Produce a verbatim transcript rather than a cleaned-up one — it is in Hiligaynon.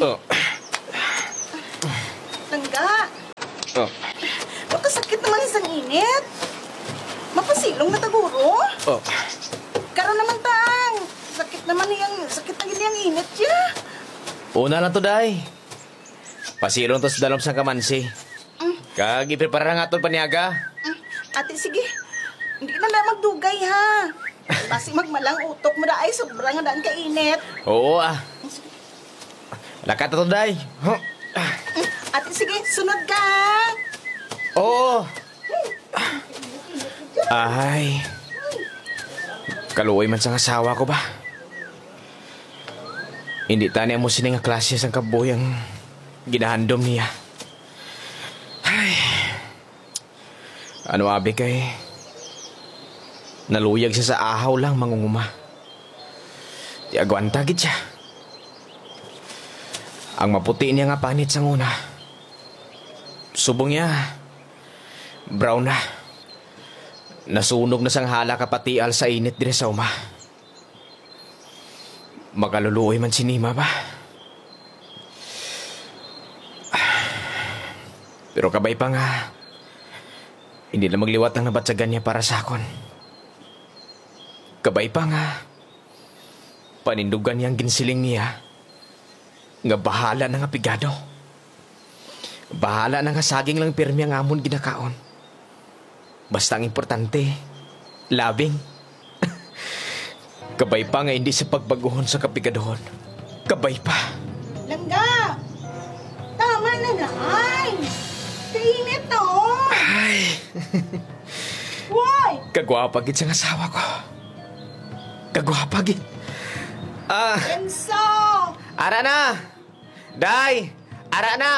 Oh. Langga. Oh. Makasakit naman sang init. Mapasilong na taguro. Oh. Karon naman tang. Sakit naman niyang, sakit na gid niyang init siya. Una lang to, day. Pasilong to sa dalom sang kamansi. Mm. Kag iprepara nga aton paniaga. Mm. Ate, sige. Hindi na lang magdugay, ha. Basi magmalang utok mo na ay sobra nga daan ka init. Oo, ah. Mm, sige. Lakat na to, day. Huh. Mm, ate, sige. Sunod ka, ha. Oo. Ay. Kaluoy man sang asawa ko ba? Hindi tani amo sini nga klase sang kabuhi ang ginahandom niya. Ay. Ano abi kay naluyag siya sa ahaw lang mangunguma. Di agwanta gid siya. Ang maputi niya nga panit sang una, subong niya, brown na. Nasunog na sang hala ka patial sa init diri sa uma. Makaluluoy man si Nima ba? Pero kabay pa nga, hindi na magliwat ang nabatyagan niya para sa akon. Kabay pa nga, panindugan niya ang ginsiling niya nga bahala na nga pigado. Bahala na nga saging lang pirmi ang amon ginakaon. Basta ang importante, labing. Kabay pa nga hindi sa pagbaguhon sa kapigaduhon. Kabay pa. Langga! Tama na na, ay! Kainit na, oh! Ay! Woy! Kagwapa gid sang asawa ko. Kagwapa gid. Ah, Enzo! Ara na! Day! Ara na!